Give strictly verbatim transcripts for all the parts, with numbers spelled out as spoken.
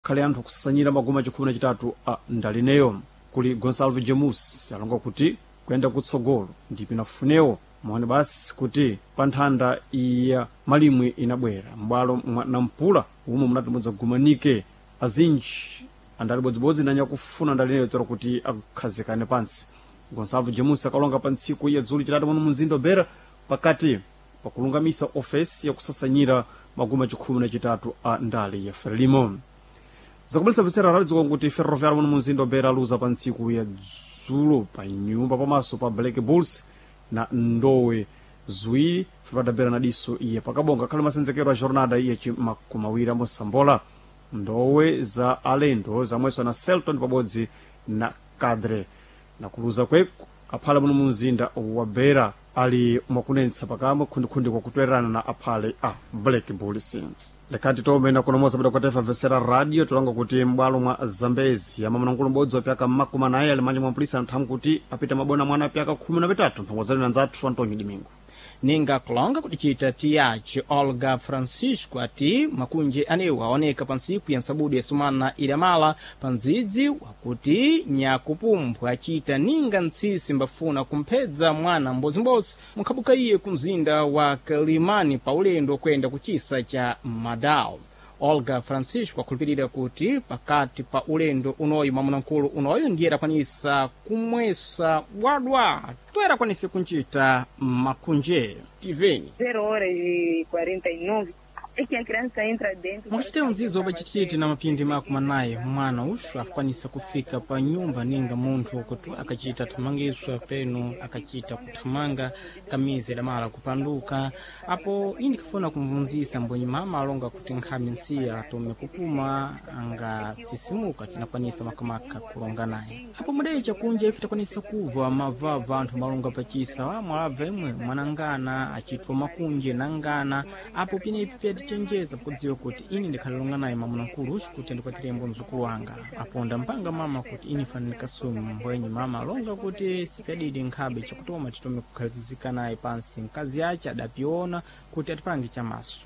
Khale anthu akusasanyira maguma chikhumi na chitatu a ndalineyo. Kuli Gonsalvo Jamus alonga kuti kuyenda kutsogolo ndipo inafunewo maone basi kuti pa nthanda iya malimwe inabwera m'bwalo mwa Nampula umwe munati mudzagumanike azinji andali bodzibodzi nanyakufuna ndalineyo tora kuti akhazikane pansi. Gonsalvo Jamus akalonga pa ntsiku ya dzulo chitatu muno mumzinda wa Beira pakati pakulungamisa ofesi yakusasanyira maguma chikhumi na chitatu a ndale ya Frelimo. Zakubalitsa mvetsera radio kuti Ferroviário muno mumzinda wa Beira aluza pa ntsiku ya dzulo pa nyumba pamaso pa Black Bulls na ndowe ziwiri Ferroviário na diso iye pakabonga khale masenzekero a jornada iye chimakumawiri amosambola ndowe za alendo zamweswa na Celton pabodzi na Cadre na kuluza kweku aphale muno mumzinda wa Beira ali mwakunenetsa pakamwe khundikhundi kwakutwererana na aphale a Black Bulls. Lekhati tomena kunomoza bada kwatefa vesera radio tulanga kuti m'bwalo mwa Zambezi amamanankulo m'bodzi wa pyaka mmakumi anayi ali manja mwa mpulisa anthu amkuti apita mabona mwana apyaka khumi na pitatu. Mphango zali na nzathu Antonio Domingo. Ninga kulonga kudicita tiyaci Olga Francisco ati makunje anewo aoneka pa ntsiku ya nsabudu ya sumana idamala pa ndzidzi wakuti nyakupumbwa acita ninga ntsisi mbafuna kumphedza mwana mbozimbodzi munkhabuka iye ku mzinda wa Kalimani pa ulendo kwenda kuchisa cha Madao. Olga Francisco akhulupirira kuti pakati pa ulendo unoyu mwamunamkulu unoyu ndiye adakwanisa kumwesa bwadwa toera akwanise kuncita makunje tiveni. zero horas e quarenta e nove é que a criança entra dentro. Mwakacitewo nzizo pacititi na mapindi makumi anayi mwana uxu akwanisa kufika pa nyumba ninga munthu kuti akacita thamangiswa penu akacita kuthamanga kamizi idamala kupanduka. Apo ini kafuna kumvunzisa mbwenyi mama alonga kuti nkhami nsiya atome kupuma angasisimuka tinakwanisa makamaka kulonga naye. Apo mudecha kunja ife takwanisa kuva mavava anthu malonga pachisa mwalabva imwe mwanangana achitwa makunje nangana. Apo pinepi pyatichenjeza kudziwa kuti ini ndikhalilonga naye mwamuna-nkulu uxu kuti andikwatirembo mzukulu wanga. Apo ndampanga mama kuti ini fana ndikasume mbwenyi mama alonga kuti sipyadidi nkhabe chakutoma titome kukhalizika naye pansi mkazi ace adapiona kuti atipange chamaso.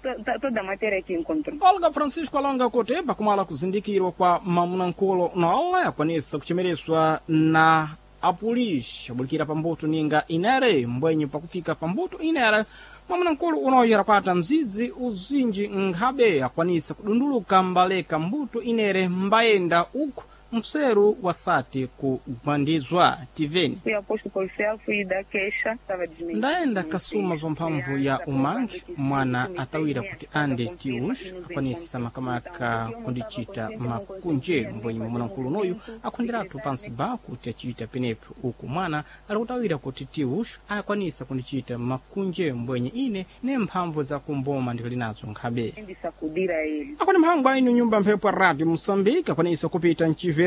Toda a matéria que encontrou. Olga Francisco alonga kuti pakumala kuzindikirwa kwa mamunamkulu nola akwanisa kuchemereswa na apolisi abulikira pambuto ninga inere mbwenyi pakufika pambuto inere mwamunamkulu unoyo adakwata mzidzi uzinji nkhabe akwanisa kudunduluka mbaleka mbuto inere mbayenda uku mseru wasati kugwandizwa tiveni. Fui ao posto policial, fui dar queixa, estava desmentido. Ndayenda kasuma pa mphamvu ya umangi mwana atawira kuti ande tius akwanisa makamaka kundicita makunje mbwenyi mwamunamkulu unoyu akhonderatu pansi ba kuti acita penepo uku mwana ali kutawira kuti tius akwanisa kundicita makunje mbwenyi ine ne mphamvu za kumboma ndikali nazo nkhabe. De sacudir a ele. Akwani mphango ainu nyumba mphepo ya radio Moçambique akwanisa kupita mchiverano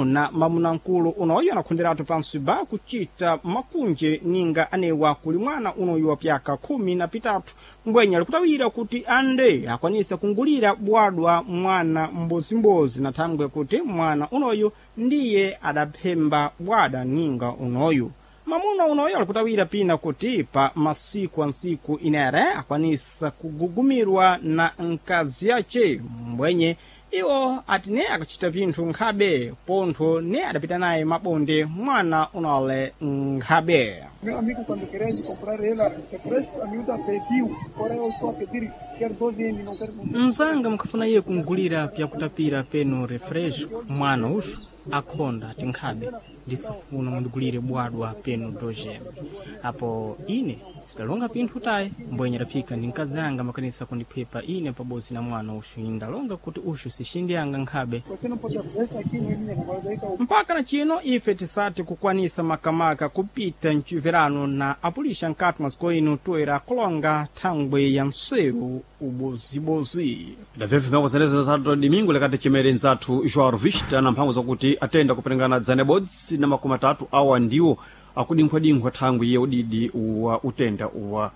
na mamunamkulu unoyo anakhonderatu pansi ba kucita makunje ninga anewa kuli mwana unoyu wa pyaka khumi na pitatu mbwenye alikutawira kuti ande akwanisa kungulira bwadwa mwana mbozimbozi na thangwe kuti mwana unoyu ndiye adaphemba bwada ninga unoyu. Mamuna unoyo alikutawira pina kuti pa masiku a ntsiku inere akwanisa kugugumirwa na nkazi yace mbwenye iwo ati ne akacita pinthu nkhabe pontho ne adapita naye mabonde mwana unole nkhabe. Meu amigo, quando querer comprar ela, refresco, a miúda pediu. Agora eu estou a pedir, quero doze M, não quero. Mzanga mukafuna iye kungulira pyakutapira penu refresco mwana uxu akhonda ati nkhabe ndisifuna mundigulire bwadwa penu dojeme. Apo ine sidalonga pinthu tayi mbwenye adafika ndi mkazi anga makanisa kundiphepa ine pabodzi na mwana uxu indalonga kuti uxu sixindiyanga nkhabe. Você não pode refresco aqui, não é minha, agora daí tá o Mpaka na chino ife tisati kukwanisa makamaka kupita mchiverano na apulisha nkati mwa ino toera kulonga thangwe ya mseru ubozibozi. Ndabvebve mphango zenezo za Domingo lekati chimere nzathu Joao Vista na mphango zakuti atenda kuperengana dzana bodzi na makumi atatu awa ndiwo akudinkhwadinkhwa thangwi ye udidi wa utenda wa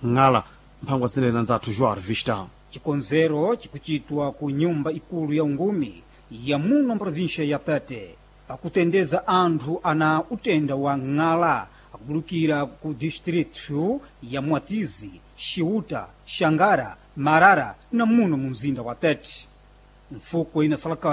ng'ala. Mphango zinena nzathu Joao Vista. Chikonzero chikuchitwa ku nyumba ikulu ya ungumi ya muno mprovinsia ya Tete pakutendeza anthu ana utenda wa ng'ala akubulukira ku distritu ya Mwatizi, Xiuta, Xangara, Marara na muno mu mzinda wa Tete. Mfuko inasalaka.